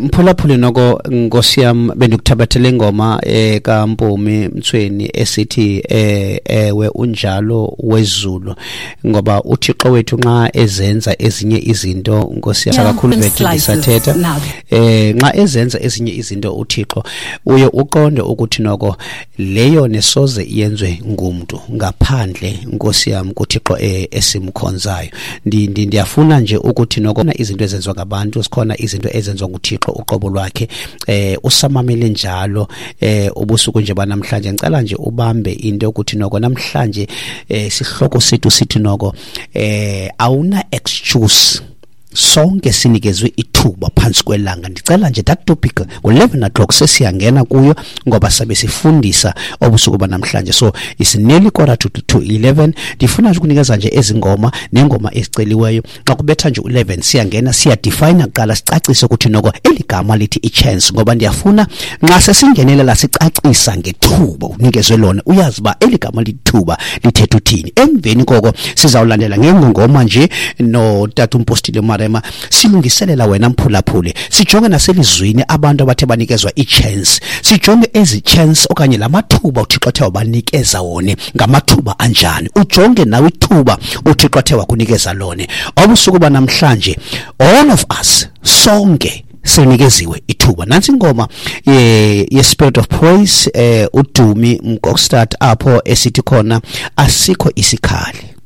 Mphulaphuli, noko nkosi yam, bendikuthabathele ingoma kaMpumi Mtsweni esithi "Ewe Unjalo Wezulu", ngoba uThixo wethu nxa ezenza ezinye izinto, nkosi yam, kakhulu bethu ndisathetha, nxa ezenza ezinye izinto uThixo, uye uqonde ukuthi noko leyo nesoze iyenzwe ngumntu ngaphandle, nkosi yam, kuThixo esimkhonzayo. Ndiyafuna nje ukuthi noko izinto ezenziwa ngabantu zikhona, izinto ezenziwa nguThixo uqobo lwakhe. Usamamele njalo ubusuku nje banamhlanje, ngicela nje ubambe into yokuthi noko namhlanje sihloko sethu sithi noko awuna excuse, sonke sinikezwe ithuba phantsi kwelanga. Ndicela nje that topic ngo-11 o'clock sesiyangena kuyo, ngoba sabe sifundisa obusuku banamhlanje. So it's nearly quarter to 11. Ndifuna nje ukunikeza nje ezi ngoma neengoma eziceliweyo. Xa kubetha nje u-11 siyangena, siyadefine kuqala, sicacise ukuthi noko eli gama lithi i-chance, ngoba ndiyafuna nxa sesingenelela sicacisa ngethuba unikezwe lona, uyazi uba eli gama lithuba lithetha uthini. Emveni koko sizawulandela ngengongoma nje notata umpostile Marema, silungiselela wena mphulaphuli, sijonge naselizwini abantu abathe banikezwa i-chance, sijonge ezi chance okanye la mathuba uThixo athe wabanikeza wona ngamathuba anjani. Ujonge nawe ithuba uThixo athe wakunikeza lona obusuku banamhlanje. All of us, sonke sinikeziwe ithuba. Nansi ingoma ye Spirit of Praise, uDumi Mkokstad, apho esithi khona "Asikho Isikhali".